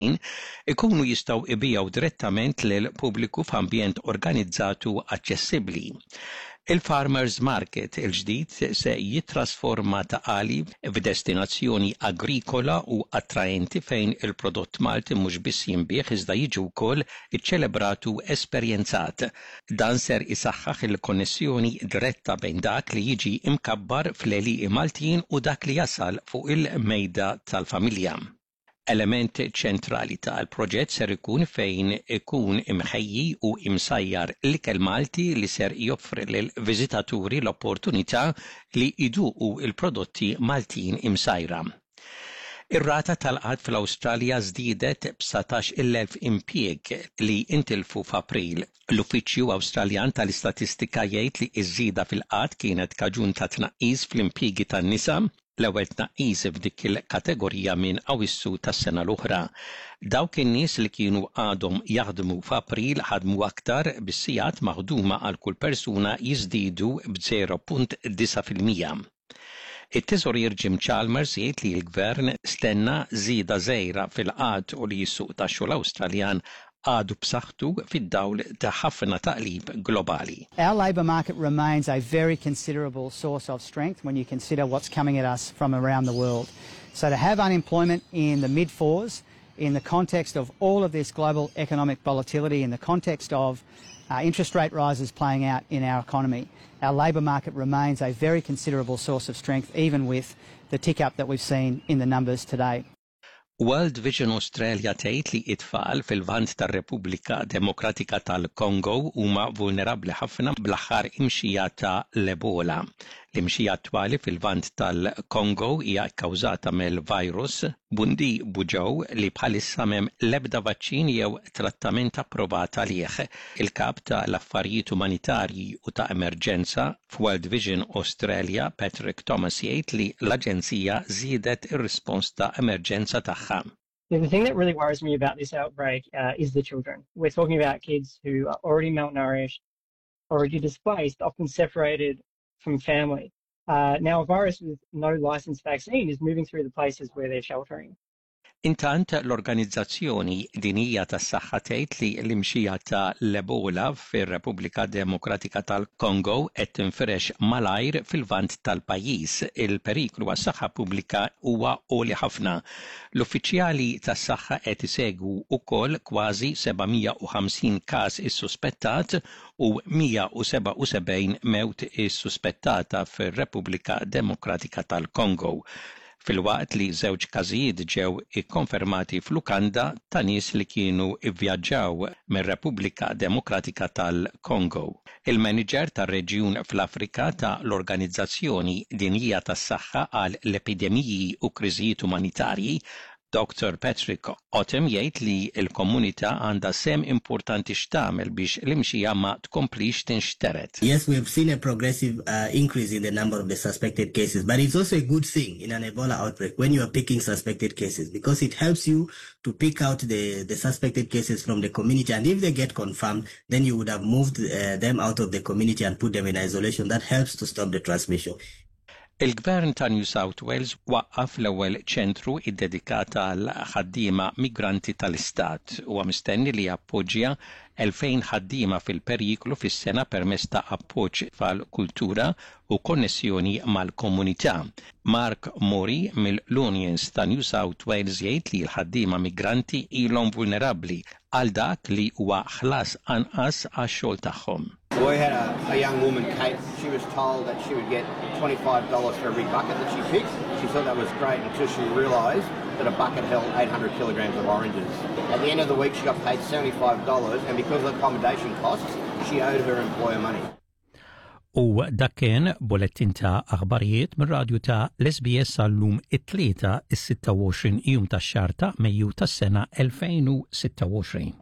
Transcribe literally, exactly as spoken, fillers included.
Ikunu jistgħu jbigħu direttament lil pubbliku f'ambjent organizzat u aċċessibbli. Il-Farmers Market il-ġdid se jitrasforma Ta' Qali f'destinazzjoni agrikola u attraenti fejn il-prodott Malti mhux biss jinbiegħ iżda jiġi wkoll iċċelebrat u esperjenzat. Dan ser isaħħaħ il-konnessjoni diretta bejn dak li jiġi imkabbar fl-għelieqi Maltin u dak li jasal fuq il-mejda tal-familja. Element ċentrali tal-proġett ser ikun fejn ikun imħejji u imsajjar l-ikel Malti li ser joffri lil viżitaturi l-opportunità li iduqu il-prodotti Maltin imsajra. Ir-rata tal-qgħad fl-Awstralja żdiedet b'satax-il elf impjieg li intilfu f'April. L-Uffiċċju Awstraljan tal-Istatistika jgħid li ż-żieda fil-qgħad kienet kaġun ta' tnaqqis fl-impjiegi tan-nisa, l-ewwel tnaqqis f'dik il-kategorija minn Awissu tas-sena l-oħra. Dawk in-nies li kienu għadhom jaħdmu f'April ħadmu aktar, bis-sigħat maħduma għal kull persuna jiżdiedu b'żero punt disgħa fil-mija. It-teżorier Jim Chalmers jgħid li l-gvern stenna żieda żgħira fil-qgħad u li s-suq tax-xogħol Awstraljan għadu b'saħħtu fid-dawl ta' ħafna taqlib globali. Our labour market remains a very considerable source of strength when you consider what's coming at us from around the world. So to have unemployment in the mid fours in the context of all of this global economic volatility, in the context of uh, interest rate rises playing out in our economy, our labour market remains a very considerable source of strength, even with the tick up that we've seen in the numbers today. World Vision Australia tgħid li it-tfal fil-Lvant tar-Repubblika Demokratika tal-Kongo huma vulnerabbli ħafna bl-aħħar imxija ta' l-Ebola. L-imxija attwali fil-Lvant tal-Kongo hija kkawżata mill-virus Bundibugyo li bħalissa m'hemm l-ebda vaċċin jew trattament approvat għalih. Il-kap ta' l-affarijiet umanitarji u ta' emerġenza f'World Vision Australia, Patrick Thomas, jgħid li l-aġenzija żiedet ir-rispons ta' emerġenza tagħha. The thing that really worries me about this outbreak uh, is the children. We're talking about kids who are already malnourished, already displaced, often separated from family. Uh, now, a virus with no licensed vaccine is moving through the places where they're sheltering. Intant, l-Organizzazzjoni Dinjija tas-Saħħa tgħid li l-imxija ta' l-Ebola fir-Repubblika Demokratika tal-Kongo qed tinfirex malajr fil-Lvant tal-pajjiż. Il-periklu għas-saħħa pubblika huwa għoli ħafna. L-uffiċjali tas-saħħa qed isegwu wkoll kważi seba' mija u ħamsin każ issuspettat u mija u sebgħa u sebgħin mewt issuspettata fir-Repubblika Demokratika tal-Kongo, filwaqt li żewġ każijiet ġew ikkonfermati f'lukanda ta' nies li kienu ivvjaġġaw mir-Repubblika Demokratika tal-Kongo. Il-manager tar-reġjun fl-Afrika ta' l-Organizzazzjoni Dinjija tas-Saħħa għal l-epidemiji u kriżijiet umanitarji, Doctor Patrick Otem, jgħid li l-komunità għandha sehem importanti x'tagħmel biex l-imxija ma tkomplix tinxtered. Yes, we have seen a progressive uh, increase in the number of the suspected cases, but it's also a good thing in an Ebola outbreak when you are picking suspected cases because it helps you to pick out the, the suspected cases from the community, and if they get confirmed, then you would have moved uh, them out of the community and put them in isolation. That helps to stop the transmission. Il-Gvern ta' New South Wales waqqaf l-ewwel ċentru iddedikat għal ħaddiema migranti tal-Istat u mistenni li jappoġġja elfejn ħaddiema fil-periklu fis-sena permezz ta' appoġġ fal-kultura u konnessjoni mal-komunità. Mark Mori mill-Unions ta' New South Wales jgħid li l-ħaddiema migranti ilhom vulnerabbli għal dak li huwa ħlas anqas għax-xogħol tagħhom. We had a, a young woman, Kate. She was told that she would get twenty-five dollars for every bucket that she picked. She thought that was great until she realised that a bucket held eight hundred kilograms of oranges. At the end of the week, she got paid seventy-five dollars, and because of accommodation costs, she owed her employer money. U dak kien bullettin ta' aħbarijiet mir-radju ta' l-S B S għal-lum it-Tlieta is-sitta u għoxrin jum tax-xahar ta' Mejju tas-sena elfejn u sitta u għoxrin.